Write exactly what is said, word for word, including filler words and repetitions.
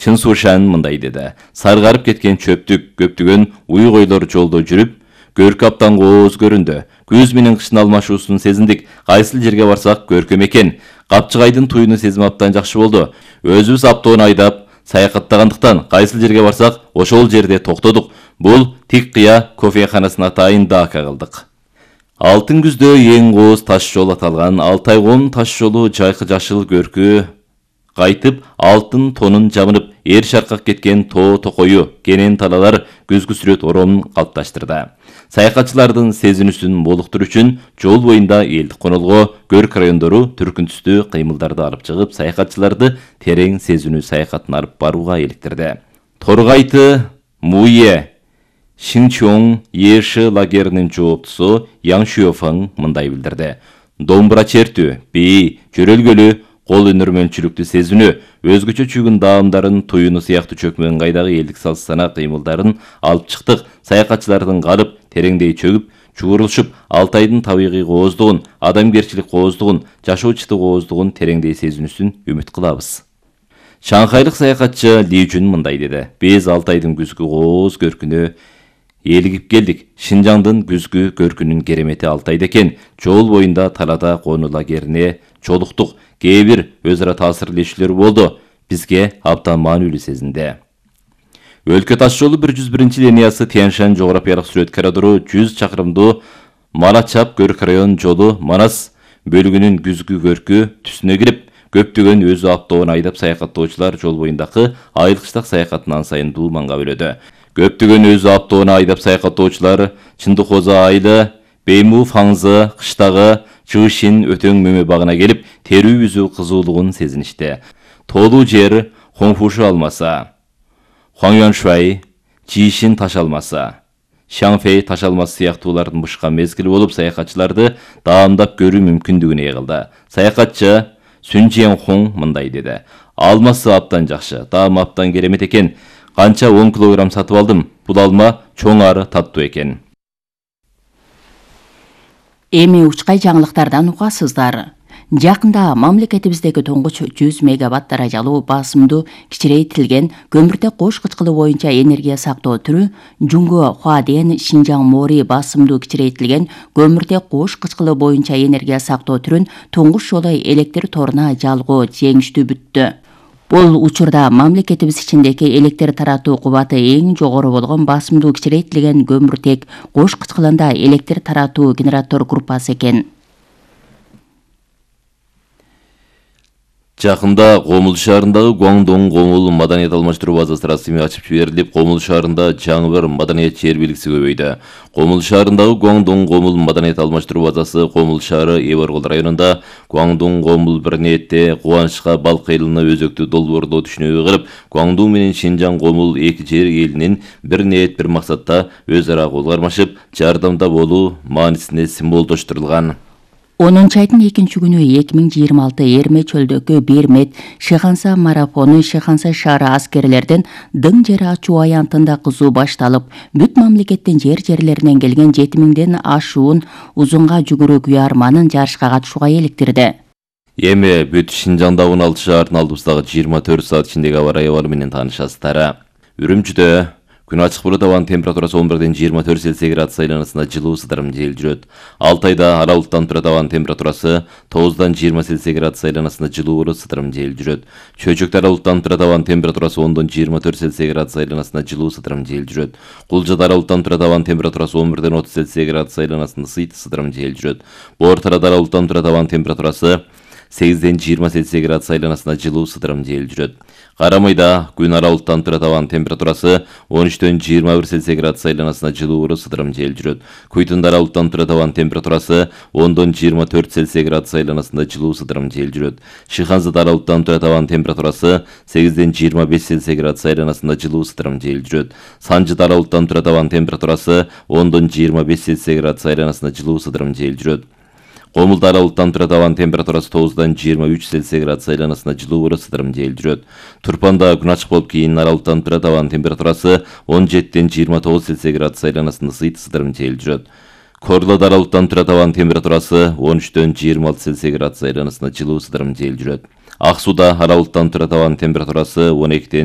Чын Сушан мындай деди. Саргарып кеткен чөптүк, көптөгөн уй койлор жолдо жүрүп, көркү аптан кооз көрүндү. Күз менен кыштын алмашуусун сезиндик. Кайсыл жерге барсак көркөм экен. Капчыгайдын туюну сезим аптан жакшы болду. Өзүбүз аптоон айдап саякаттагандыктан кайсыл жерге барсак ошол жерде токтодук. Бул тик кыя кофеханасына атайын дака кылдык. Алтын күздө эң кооз таш жол аталган Алтай коомунун таш жолу жайкы жашыл көркү кайтып, алтын тонун жабынып, эр шаркак кеткен тоо токою, кенен талалар көзгү сүрөт оромун калыпташтырды. Саякатчылардын сезинүүсүн молуктуруу үчүн жол боюнда элдик конолго, көрк райондору түркүн түстүү кыймылдарды алып чыгып, саякатчыларды терең сезинүү саякатын алып барууга иликтирди. Торгайты Муе Шинчон Еши лагеринин жооптусу Яң Шуофаң мындай билдирди. Домбура чертүү, бий, жөрөлгөлүү, кол өнөрмөнчүлүктү сезинүү, өзгөчө чүгүн даамдарын, туюну сыяктуу чөкмөн кайдагы элдик салт-сана кыймылдарын алып чыктык. Саякатчылардын калып, тереңдей чөгүп, чуурулушуп, Алтайдын табигый кооздугун, адамгерчилик кооздугун, жашоо чыты кооздугун тереңдей сезинүүсүн үмүт кылабыз. Шанхайлык саякатчы Ли Жун мындай деди. Биз Алтайдын күзгү кооз көркүнө элигип келдик. Шинжаңдын күзгү көркүнүн керемети Алтайда экен. Жол боюнда талада кону лагерине чолуктук. Кээ бир өз ара таасирлешүүлөр болду. Бизге абдан маанилүү сезинди. Өлкө таш жолу бир жүз биринчи линиясы Тянь-Шань жографиялык сүрөт коридору жүз чакырымдуу Малачап көрк район жолу Манас бөлүгүнүн күзгү көркү түсүнө кирип, көптөгөн өзү аптоон айдап саякаттоочулар жол боюндагы айыл-кыштак саякатын ан сайын дууманга бөлөдү. Көптөгөн өзү аптоон айдап саякаттоочулар Чындыкоза айылы, Бейму Фаңзы кыштагы Чыгышин өтөң мөмө багына келип, терүү үзүү кызуулугун сезиништи. Тоолуу жер Хоңфушу алмаса, Хуаңюаншуай, Жишин таш алмасы, Шаңфей таш алмасы сыяктуулардын бышкан мезгили болуп, саякатчыларды даамдап көрүү мүмкүндүгүн ээлди. Саякатчы Сүн Жиэнхоң мындай деди. Алмасы аптан жакшы, даам аптан керемет экен. Канча он килограмм сатып алдым. Бул алма чоң ары таттуу экен. Эми учкай жаңылыктардан угасыздар. Жакында мамлекетибиздеги тоңгуч жүз мегаватт даражалуу басымдуу кичирейтилген көмүртек кош кычкылы боюнча энергия сактоо түрү Жунго Хуаден Шинжаң Мори басымдуу кичирейтилген көмүртек кош кычкылы боюнча энергия сактоо түрүн туңгуч жолу электр торуна жалгоо жеңиштүү бүттү. Бул учурда мамлекетибиз ичиндеги электр таратуу кубаты эң жогору болгон басымдуу кичирейтилген көмүртек кош кычкылында электр таратуу генератор группасы экен. Жакында Комул шаарындагы Гуаңдоң Комул маданият алмаштыруу базасы расмий ачып жиберилип, Комул шаарында жаңы бир маданият жер белгиси көбөйдү. Комул шаарындагы Гуаңдоң Комул маданият алмаштыруу базасы Комул шаары Эборгол районунда Гуаңдоң Комул бир ниетте кубанычка балк айылына өзөктү долбоорлоо түшүнүгү кылып, Гуаңдоң менен Шинжаң Комул эки жер элинин бир ниет бир максатта өз ара кол кармашып, жардамда болуу маанисине символдоштурулган. онунчу айдын экинчи күнү эки миң жыйырма алты Эрме чөлдөгү бир мет Шыханса марафону Шыханса шаары аскерлердин дың жер ачуу аянтында кызуу башталып, бүт мамлекеттин жер жерлеринен келген жети миңден ашуун узунга жүгүрүү күйарманын жарышка катышууга иликтирди. Эми бүт Шинжаңда он алты шаардын алдыбыздагы жыйырма төрт саат ичиндеги аба ырайы абалы менен таанышасыздар. Үрүмчүдө күн ачык болот, абанын температурасы он бирден жыйырма төрт Цельсий градус айланасында жылуу сыдырым жел жүрөт. Алтайда ара булуттан турат, абанын температурасы тогуздан жыйырма Цельсий градус айланасында жылуу сыдырым жел жүрөт. Чөйчөктө ара булуттан турат, абанын температурасы ондон жыйырма төрт Цельсий градус айланасында жылуу сыдырым жел жүрөт. Кулжада ара булуттан турат, абанын температурасы он бирден отуз Цельсий градус айланасында сыйт сыдырым жел жүрөт. Боортарада ара булуттан турат, абанын температурасы сегизден жыйырма Цельсий градус айланасында жылуу сыдырым жел жүрөт. Карамайда күн ара булуттан турат, абанын температурасы он үчтөн жыйырма бир Цельсий градус айланасында жылуу сыдырым жел жүрөт. Куйтунда ара булуттан турат, абанын температурасы ондон жыйырма төрт Цельсий градус айланасында жылуу сыдырым жел жүрөт. Шыханзада ара булуттан турат, абанын температурасы сегизден жыйырма беш Цельсий градус айланасында жылуу сыдырым жел жүрөт. Санжыда ара булуттан турат, абанын температурасы ондон жыйырма беш Цельсий градус айланасында жылуу сыдырым жел жүрөт. Комулда ара булуттан турат, абанын температурасы тогуздан жыйырма үч Цельсий градус айланасында жылуу сыдырым жел жүрөт. Турпанда күн ачык болуп, кийин ара булуттан турат, абанын температурасы он жетиден жыйырма тогуз Цельсий градус айланасында сыйт сыдырым жел жүрөт. Корлоодо ара булуттан турат, абанын температурасы он үчтөн жыйырма алты Цельсий градус айланасында жылуу сыдырым жел жүрөт. Ак сууда ара булуттан турат, абанын температурасы он экиден